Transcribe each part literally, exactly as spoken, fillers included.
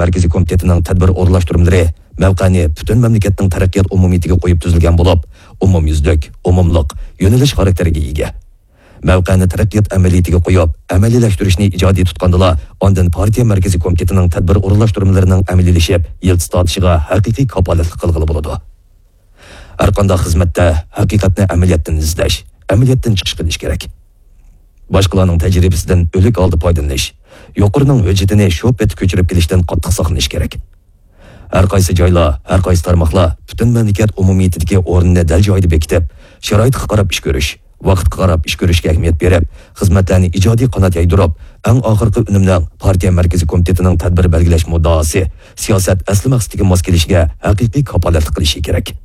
مەركىزىي كومىتېتىنىڭ تەدبىر ئورۇنلاشتۇرمىلىرى مەۋقەنى پۈتۈن مەملىكەتنىڭ تەرەققىيات ئومۇمىيىتىگە قويۇپ تۈزۈلگەن بولۇپ، ئومۇميۈزلۈك، ئومۇملۇق، يۆنىلىش خاراكتېرىگە ئىگە. مەۋقەنى تەرەققىيات ئەمەلىيىتىگە قويۇپ، ئەمەلىيلەشتۈرۈشنى ئىجادىي تۇتقاندىلا، ئاندىن پارتىيە مەركىزىي كومىتېتىنىڭ تەدبىر ئورۇنلاشتۇرمىلىرىنىڭ ئەمەلىيلىشىپ، يىلتىز تارتىشىغا ھەقىقىي كاپالەتلىك قىلغىلى بولىدۇ. ھەرقانداق خىزمەتتە ھەقىقەتنى ئەمەلىيەتتىن ئىزدەش، ئەمەلىيەتتىن چىقىش قىلىش كېرەك. باشقىلارنىڭ تەجرىبىسىدىن ئۆلۈك ھالدا پايدىلىنىش، يۇقىرىنىڭ ھۆججىتىنى شۇ پېتى كۆچۈرۈپ كېلىشتىن قاتتىق ساقلىنىش كېرەك. ھەر قايسى جايلار، ھەر قايسى تارماقلار پۈتۈن مەملىكەت ئومۇمىيىتىدىكى ئورنىنى دەل جايىدا بېكىتىپ، شارائىتقا قاراپ ئىش كۆرۈش، ۋاقىتقا قاراپ ئىش كۆرۈشكە ئەھمىيەت بېرىپ، خىزمەتلەرنى ئىجادىي قانات يايدۇرۇپ، ئەڭ ئاخىرقى ئۈنۈمنىڭ پارتىيە مەركىزىي كومىتېتىنىڭ تەدبىر بەلگىلەش مۇددىئاسى، سىياسەت ئەسلى مەقسىتىگە ماس كېلىشىگە ھەقىقىي كاپالەتلىك قىلىشى كېرەك.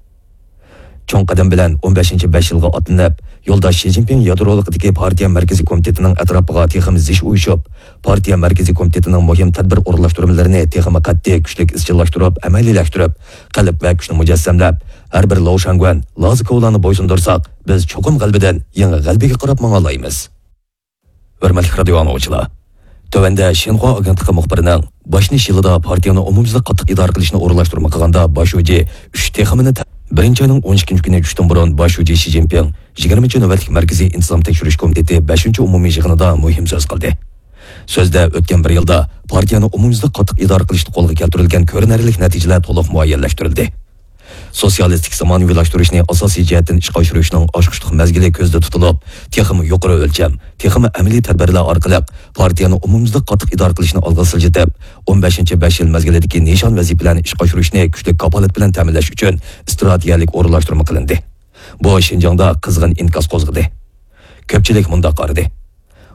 چوڭ قەدەم بىلەن ئون بەشىنچى بەش يىلغا ئاتلىنىپ، يولداش شى جىنپىڭ يادرولۇقىدىكى پارتىيە مەركىزىي كومىتېتىنىڭ ئەتراپىغا تېخىمۇ زىچ ئۇيۇشۇپ، پارتىيە مەركىزىي كومىتېتىنىڭ مۇھىم تەدبىر ئورۇنلاشتۇرمىلىرىنى تېخىمۇ قەتئىي، كۈچلۈك ئىزچىللاشتۇرۇپ، ئەمەلىيلەشتۈرۈپ، قەلب ۋە كۈچنى مۇجەسسەملەپ، ھەر بىر لوۋشاڭگۈەن، لازىكوۋلارنى بويسۇندۇرساق، بىز چوقۇم غەلىبىدىن يېڭى غەلىبىگە قاراپ ماڭالايمىز. ھۆرمەتلىك رادىيو ئاڭلىغۇچىلار! تۆۋەندە شىنخۇا ئاگېنتلىقى مۇخبىرىنىڭ باشلىنىش يىلىدا پارتىيەنى ئومۇميۈزلۈك قاتتىق ئىدارە قىلىشنى ئورۇنلاشتۇرما قىلغاندا باش شۇجى ئۈچ تېخىمىنى تە-، بىرىنچى ئاينىڭ ئون ئىككىنچى كۈنى چۈشتىن بۇرۇن باش شۇجى شى جىنپىڭ يىگىرمىنچى نۆۋەتلىك مەركىزىي ئىنتىزام تەكشۈرۈش كومىتېتى بەشىنچى ئومۇمىي يىغىنىدا مۇھىم سۆز قىلدى. سۆزدە ئۆتكەن بىر يىلدا پارتىيەنى ئومۇميۈزلۈك قاتتىق ئىدارە قىلىشتا قولغا كەلتۈرۈلگەن كۆرۈنەرلىك نەتىجىلەر تولۇق مۇئەييەنلەشتۈرۈلدى. سوتسىيالىستىك زامانىۋىلاشتۇرۇشنى ئاساسىي جەھەتتىن ئىشقا ئاشۇرۇشنىڭ ئاچقۇچلۇق مەزگىلى كۆزدە تۇتۇلۇپ، تېخىمۇ يۇقىرى ئۆلچەم، تېخىمۇ ئەمەلىي تەدبىرلەر ئارقىلىق پارتىيەنى ئومۇميۈزلۈك قاتتىق ئىدارە قىلىشنى ئالغا سىلجىتىپ، ئون بەشىنچى بەش يىل مەزگىلىدىكى نىشان ۋەزىپىلەرنى ئىشقا ئاشۇرۇشنى كۈچلۈك كاپالەت بىلەن تەمىنلەش ئۈچۈن ئىستراتېگىيەلىك ئورۇنلاشتۇرما قىلىندى. بۇ شىنجاڭدا قىزغىن ئىنكاس قوزغىدى. كۆپچىلىك مۇنداق قارىدى.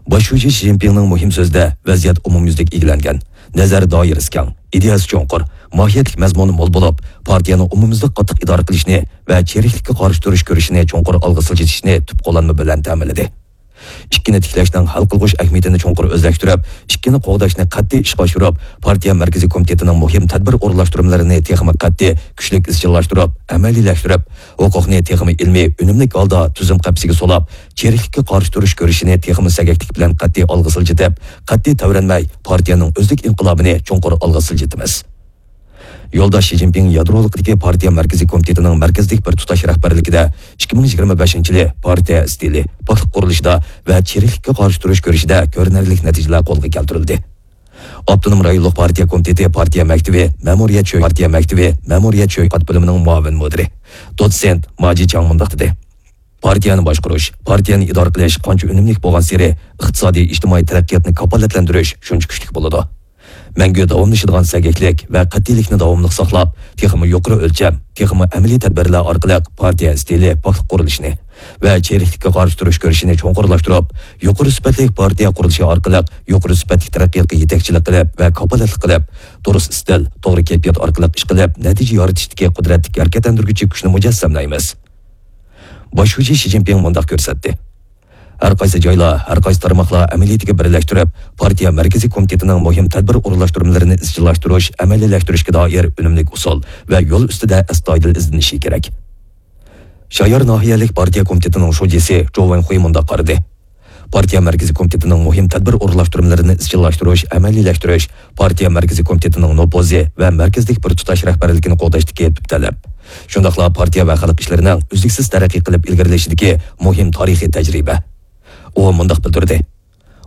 باش شۇجى شى جىنپىڭنىڭ مۇھىم سۆزىدە ۋەزىيەت ئومۇميۈزلۈك ئىگىلەنگەن، نەزەر دائىرىسى كەڭ، ئىدىيەسى چوڭقۇر، ماھىيەتلىك مەزمۇنى مول بولۇپ، پارتىيەنى ئومۇميۈزلۈك قاتتىق ئىدارە قىلىشنى ۋە چىرىكلىككە قارشى تۇرۇش كۈرىشىنى چوڭقۇر ئالغا سىلجىتىشنى تۈپ قوللانما بىلەن تەمىنلىدى. ئىككىنى تىكلەشنىڭ ھەل قىلغۇچ ئەھمىيىتىنى چوڭقۇر ئۆزلەشتۈرۈپ، ئىككىنى قوغداشنى قەتئىي ئىشقا ئاشۇرۇپ، پارتىيە مەركىزىي كومىتېتىنىڭ مۇھىم تەدبىر ئورۇنلاشتۇرمىلىرىنى تېخىمۇ قەتئىي، كۈچلۈك ئىزچىللاشتۇرۇپ، ئەمەلىيلەشتۈرۈپ، ھوقۇقنى تېخىمۇ ئىلمىي، ئۈنۈملۈك ھالدا تۈزۈم قەپىسىگە سولاپ، چىرىكلىككە قارشى تۇرۇش كۈرىشىنى تېخىمۇ سەگەكلىك بىلەن قەتئىي ئالغا سىلجىتىپ، قەتئىي تەۋرەنمەي، پارتىيەنىڭ ئۆزلۈك ئىنقىلابىنى چوڭقۇر ئالغا سىلجىتىمىز. يولداش شى جىنپىڭ يادرولۇقىدىكى پارتىيە مەركىزىي كومىتېتىنىڭ مەركەزلىك بىر تۇتاش رەھبەرلىكىدە ئىككى مىڭ يىگىرمە بەشىنچى يىلى پارتىيە ئىستىلى، پاكلىق قۇرۇلۇشىدا ۋە چىرىكلىككە قارشى تۇرۇش كۈرىشىدە كۆرۈنەرلىك نەتىجىلەر قولغا كەلتۈرۈلدى. ئاپتونوم رايونلۇق پارتىيە كومىتېتى پارتىيە مەكتىۋى، مەمۇرىيەت شۆ-، پارتىيە مەكتىۋى، مەمۇرىيەت شۆھرەت بۆلۈمىنىڭ مۇئاۋىن مۇدىرى، دوتسېنت ماجى چاڭ مۇنداق دېدى. پارتىيەنى باشقۇرۇش، پارتىيەنى ئىدارە قىلىش قانچە ئۈنۈملۈك بولغانسېرى، ئىقتىسادىي، ئىجتىمائىي تەرەققىياتنى كاپالەتلەندۈرۈش شۇنچە كۈچلۈك بولىدۇ. مەڭگۈ داۋاملىشىدىغان سەگەكلىك ۋە قەتئىيلىكنى داۋاملىق ساقلاپ، تېخىمۇ يۇقىرى ئۆلچەم، تېخىمۇ ئەمەلىي تەدبىرلەر ئارقىلىق پارتىيە ئىستىلى پاكلىق قۇرۇلۇشىنى ۋە چىرىكلىككە قارشى تۇرۇش كۈرىشىنى چوڭقۇرلاشتۇرۇپ، يۇقىرى سۈپەتلىك پارتىيە قۇرۇلۇشى ئارقىلىق يۇقىرى سۈپەتلىك تەرەققىياتقا يېتەكچىلىك قىلىپ ۋە كاپالەتلىك قىلىپ، دۇرۇس ئىستىل، توغرا كەيپىيات ئارقىلىق ئىش قىلىپ، نەتىجە يارىتىشتىكى قۇدرەتلىك ھەرىكەتلەندۈرگۈچى كۈچنى مۇجەسسەملەيمىز. باش شۇجى شى جىنپىڭ مۇنداق كۆرسەتتى. ھەر قايسى جايلار، ھەر قايسى تارماقلار ئەمەلىيىتىگە بىرلەشتۈرۈپ، پارتىيە مەركىزىي كومىتېتىنىڭ مۇھىم تەدبىر ئورۇنلاشتۇرمىلىرىنى ئىزچىللاشتۇرۇش، ئەمەلىيلەشتۈرۈشكە دائىر ئۈنۈملۈك ئۇسۇل ۋە يول ئۈستىدە ئەستايىدىل ئىزدىنىشى كېرەك. شايار ناھىيەلىك پارتىيە كومىتېتىنىڭ شۇجىسى جو ۋېنخۇي مۇنداق قارىدى. پارتىيە مەركىزىي كومىتېتىنىڭ مۇھىم تەدبىر ئورۇنلاشتۇرمىلىرىنى ئىزچىللاشتۇرۇش، ئەمەلىيلەشتۈرۈش، پارتىيە مەركىزىي كومىتېتىنىڭ نوپۇزى ۋە مەركەزلىك بىر تۇتاش رەھبەرلىكىنى قوغداشتىكى تۈپ تەلەپ. شۇنداقلا پارتىيە ۋە خەلق ئىشلىرىنىڭ ئۈزلۈكسىز تەرەققىي قىلىپ ئىلگىرىلىشىدىكى مۇھىم تارىخىي تەجرىبە. ئۇ مۇنداق بىلدۈردى.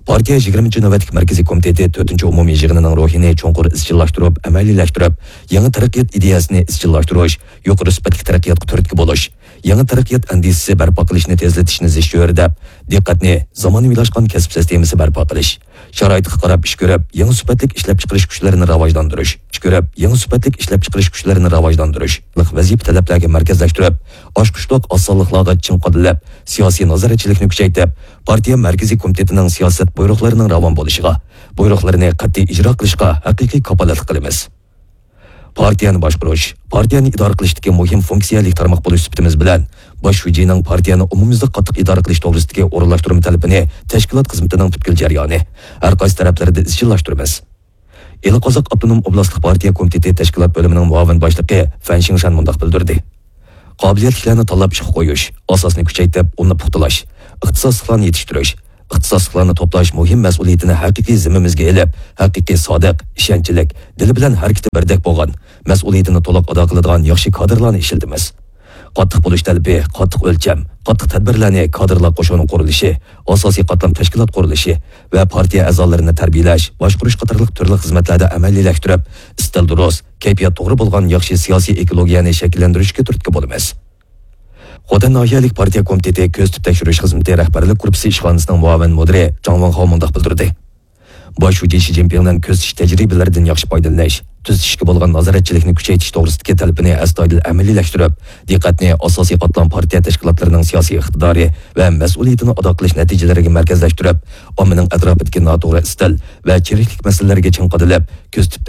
پارتىيە يىگىرمىنچى نۆۋەتلىك مەركىزىي كومىتېتى تۆتىنچى ئومۇمىي يىغىنىنىڭ روھىنى چوڭقۇر ئىزچىللاشتۇرۇپ، ئەمەلىيلەشتۈرۈپ، يېڭى تەرەققىيات ئىدىيەسىنى ئىزچىللاشتۇرۇش، يۇقىرى سۈپەتلىك تەرەققىياتقا تۈرتكە بولۇش، يېڭى تەرەققىيات ئەندىزىسى بەرپا قىلىشنى تېزلىتىشنى زىچ چۆرىدەپ، دىققەتنى زامانىۋىلاشقان كەسىپ سىستېمىسى بەرپا قىلىش، شارائىتقا قاراپ ئىش كۆرۈپ، يېڭى سۈپەتلىك ئىشلەپچىقىرىش كۈچلىرىنى راۋاجلاندۇرۇش، ئىش كۆرۈپ، يېڭى سۈپەتلىك ئىشلەپچىقىرىش كۈچلىرىنى راۋاجلاندۇرۇش، ۋەزىپە تەلەپلەرگە مەركەزلەشتۈرۈپ، ئاچقۇچلۇق ئاز سانلىقلارغا چىڭ قادىلىپ، سىياسىي نازارەتچىلىكنى كۈچەيتىپ، پارتىيە مەركىزىي كومىتېتىنىڭ سىياسەت بۇيرۇقلىرىنىڭ راۋان بولۇشىغا، بۇيرۇقلىرىنى قەتئىي ئىجرا قىلىشقا ھەقىقىي كاپالەتلىك قىلىمىز. پارتىيەنى باشقۇرۇش، پارتىيەنى ئىدارە قىلىشتىكى مۇھىم فۇنكسىيەلىك تارماق بولۇش سۈپىتىمىز بىلەن، باش شۇجىنىڭ پارتىيەنى ئومۇميۈزلۈك قاتتىق ئىدارە قىلىش توغرىسىدىكى ئورۇنلاشتۇرما تەلىپىنى تەشكىلات خىزمىتىنىڭ پۈتكۈل جەريانى، ھەر قايسى تەرەپلىرىدە ئىزچىللاشتۇرىمىز. ئىلى قازاق ئاپتونوم ئوبلاستلىق پارتىيە كومىتېتى تەشكىلات بۆلۈمىنىڭ مۇئاۋىن باشلىقى فەن شىڭشەن مۇنداق بىلدۈردى. قابىلىيەتلىكلەرنى تاللاپ ئىشقا قويۇش، ئاساسنى كۈچەيتىپ، ئۇلنى پۇختىلاش، ئىختىساسلىقلارنى يېتىشتۈرۈش، ئىختىساسلىقلارنى توپلاش مۇھىم مەسئۇلىيىتىنى ھەقىقىي زىممىمىزگە ئېلىپ، ھەقىقىي سادىق، ئىشەنچلىك، دىلى بىلەن ھەرىكىتى بىردەك بولغان، مەسئۇلىيىتىنى تولۇق ئادا قىلىدىغان ياخشى كادىرلارنى ئىشلىتىمىز. قاتتىق بولۇش تەلىپى، قاتتىق ئۆلچەم، قاتتىق تەدبىرلەرنى كادىرلار قوشۇنى قۇرۇلۇشى، ئاساسىي قاتلام تەشكىلات قۇرۇلۇشى ۋە پارتىيە ئەزالىرىنى تەربىيەلەش، باشقۇرۇش قاتارلىق تۈرلۈك خىزمەتلەردە ئەمەلىيلەشتۈرۈپ، ئىستىل دۇرۇس، كەيپىيات توغرا بولغان ياخشى سىياسىي ئېكولوگىيەنى شەكىللەندۈرۈشكە تۈرتكە بولىمىز. خوتەن ناھىيەلىك پارتىيە كومىتېتى كۆزىتىپ تەكشۈرۈش خىزمىتى رەھبەرلىك گۇرۇپپىسى ئىشخانىسىنىڭ مۇئاۋىن مۇدىرى جاڭ ۋېنخاۋ مۇنداق بىلدۈردى: باش شۇجى شى جىنپىڭنىڭ كۆزىتىش تەجرىبىلىرىدىن ياخشى پايدىلىنىش، تۈزىتىشكە بولغان نازارەتچىلىكنى كۈچەيتىش توغرىسىدىكى تەلىپىنى ئەستايىدىل ئەمەلىيلەشتۈرۈپ، دىققەتنى ئاساسىي قاتلام پارتىيە تەشكىلاتلىرىنىڭ سىياسىي ئىقتىدارى ۋە مەسئۇلىيىتىنى ئادا قىلىش نەتىجىلىرىگە مەركەزلەشتۈرۈپ، ئاممىنىڭ ئەتراپىدىكى ناتوغرا ئىستىل ۋە چىرىكلىك مەسىلىلىرىگە چىڭ قادىلىپ، كۆزىتىپ